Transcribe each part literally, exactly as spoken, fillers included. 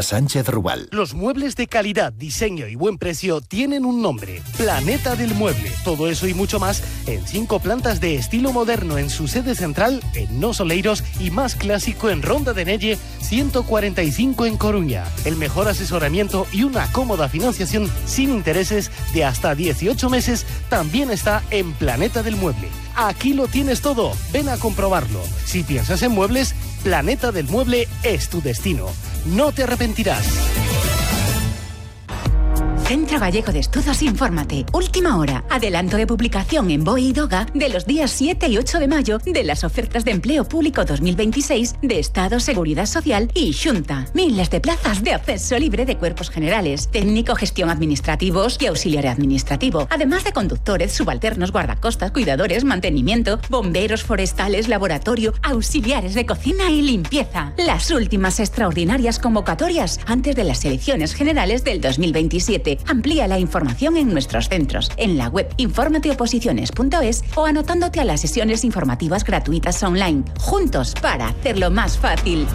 Sánchez Rubal. Los muebles de calidad, diseño y buen precio tienen un nombre: Planeta del Mueble. Todo eso y mucho más en cinco plantas de estilo moderno en su sede central en Nos Oleiros y más clásico en Ronda de Nelle ciento cuarenta y cinco en Coruña. El mejor asesoramiento y una cómoda financiación sin intereses de hasta dieciocho meses también está en Planeta del Mueble. Aquí lo tienes todo. Ven a comprobarlo. Si piensas en muebles, Planeta del Mueble es tu destino. No te arrepentirás. Centro Gallego de Estudos Infórmate. Última hora. Adelanto de publicación en B O E y Doga de los días siete y ocho de mayo de las ofertas de empleo público dos mil veintiséis de Estado, Seguridad Social y Xunta. Miles de plazas de acceso libre de cuerpos generales, técnico, gestión administrativos y auxiliar administrativo. Además de conductores, subalternos, guardacostas, cuidadores, mantenimiento, bomberos forestales, laboratorio, auxiliares de cocina y limpieza. Las últimas extraordinarias convocatorias antes de las elecciones generales del dos mil veintisiete. Amplía la información en nuestros centros, en la web informateoposiciones punto es o anotándote a las sesiones informativas gratuitas online. Juntos para hacerlo más fácil.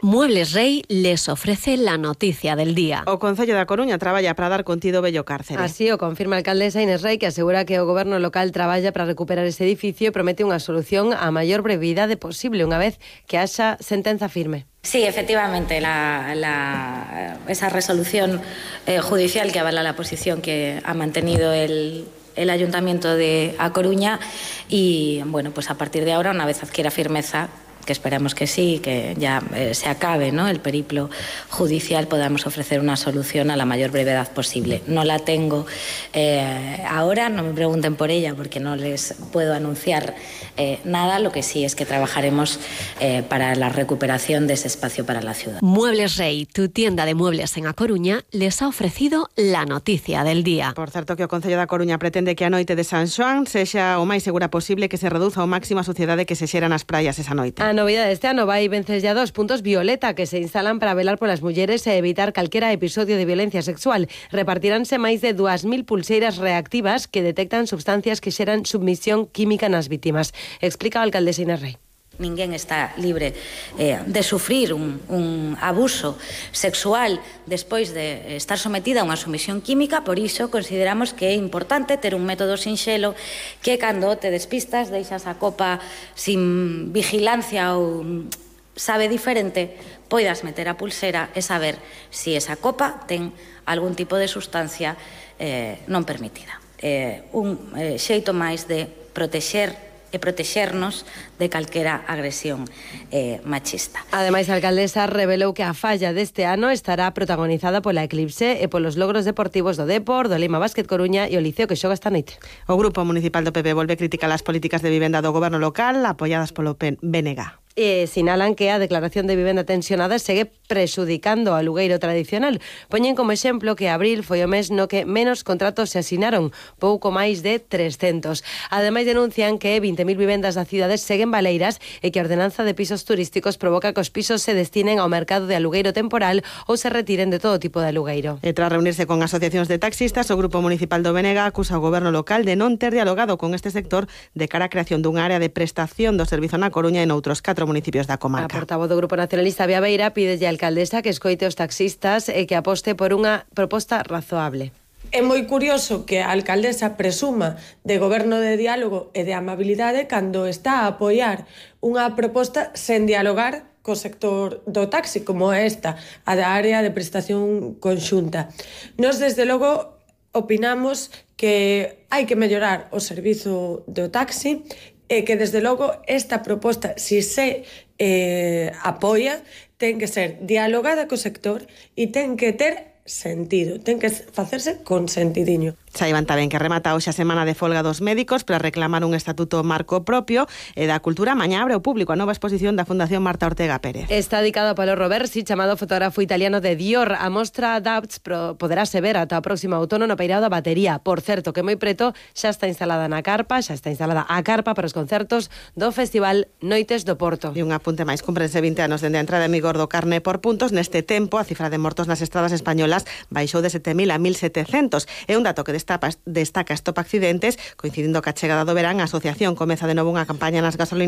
Muebles Rey les ofrece la noticia del día. O Concello da Coruña traballa para dar contido bello cárcere. Así o confirma a alcaldesa Inés Rey, que asegura que o goberno local traballa para recuperar ese edificio e promete unha solución a maior brevidade posible unha vez que haxa sentenza firme. Sí, efectivamente, la, la, esa resolución eh, judicial que avala la posición que ha mantenido el, el Ayuntamiento de A Coruña y, bueno, pues a partir de ahora, una vez adquiera firmeza, que esperamos que sí, que ya eh, se acabe, ¿no?, el periplo judicial, podamos ofrecer una solución a la mayor brevedad posible. No la tengo eh, ahora, no me pregunten por ella porque no les puedo anunciar eh, nada, lo que sí es que trabajaremos eh, para la recuperación de ese espacio para la ciudad. Muebles Rey, tu tienda de muebles en A Coruña, les ha ofrecido la noticia del día. Por certo, que o Concello da Coruña pretende que a noite de San Xoán sexa o máis segura posible, que se reduza ao máximo a suciedade que se xera nas praias esa noite. A novidade este ano vai vences ya dos puntos violeta que se instalan para velar polas mulleres e evitar calquera episodio de violencia sexual. Repartiránse máis de dúas mil pulseiras reactivas que detectan substancias que xeran submisión química nas vítimas. Explica a alcaldesa Inés Rey. Ninguén está libre eh, de sufrir un, un abuso sexual despois de estar sometida a unha sumisión química, por iso consideramos que é importante ter un método sinxelo que cando te despistas, deixas a copa sin vigilancia ou sabe diferente, poidas meter a pulsera e saber se si esa copa ten algún tipo de sustancia eh, non permitida. Eh, un eh, xeito máis de protexer e protexernos de calquera agresión eh, machista. Ademais, a alcaldesa revelou que a falla deste ano estará protagonizada pola Eclipse e polos logros deportivos do Depor, do Lima Basket Coruña e o Liceo que xoga esta noite. O Grupo Municipal do P P volve criticar as políticas de vivenda do goberno local apoiadas polo B N G. E sinalan que a declaración de vivenda tensionada segue prexudicando ao alugueiro tradicional. Poñen como exemplo que abril foi o mes no que menos contratos se asinaron, pouco máis de trescentos. Ademais, denuncian que vinte mil vivendas das cidades seguen baleiras e que a ordenanza de pisos turísticos provoca que os pisos se destinen ao mercado de alugueiro temporal ou se retiren de todo tipo de alugueiro. E tras reunirse con asociacións de taxistas, o Grupo Municipal do B N G acusa ao goberno local de non ter dialogado con este sector de cara á creación dunha área de prestación do servizo na Coruña e noutros catro municipios da comarca. A portavoz do Grupo Nacionalista Bea Beira pídelle á alcaldesa que escoite os taxistas e que aposte por unha proposta razoable. É moi curioso que a alcaldesa presuma de goberno de diálogo e de amabilidade cando está a apoiar unha proposta sen dialogar co sector do taxi, como esta, a da área de prestación conxunta. Nos, desde logo, opinamos que hai que mellorar o servizo do taxi e que, desde logo, esta proposta, si se eh, apoia, ten que ser dialogada co sector e ten que ter sentido, ten que facerse con sentidiño. Saiban tamén que remata hoxe a semana de folga dos médicos para reclamar un estatuto marco propio e da cultura. Mañá abre ao público a nova exposición da Fundación Marta Ortega Pérez. Está dedicado a Paolo Roversi, chamado fotógrafo italiano de Dior. A mostra Doubts poderase ver ata o próximo outono no Peirao da Batería. Por certo, que moi preto xa está instalada na carpa, xa está instalada a carpa para os concertos do Festival Noites do Porto. E un apunte máis, cúmprense vinte anos dende a entrada en vigor do carné por puntos. Neste tempo, a cifra de mortos nas estradas españolas baixou de sete mil a mil setecentos. É un dato que destaca Stop Accidentes, coincidindo ca chegada do verán. A asociación comeza de novo unha campaña nas gasolineras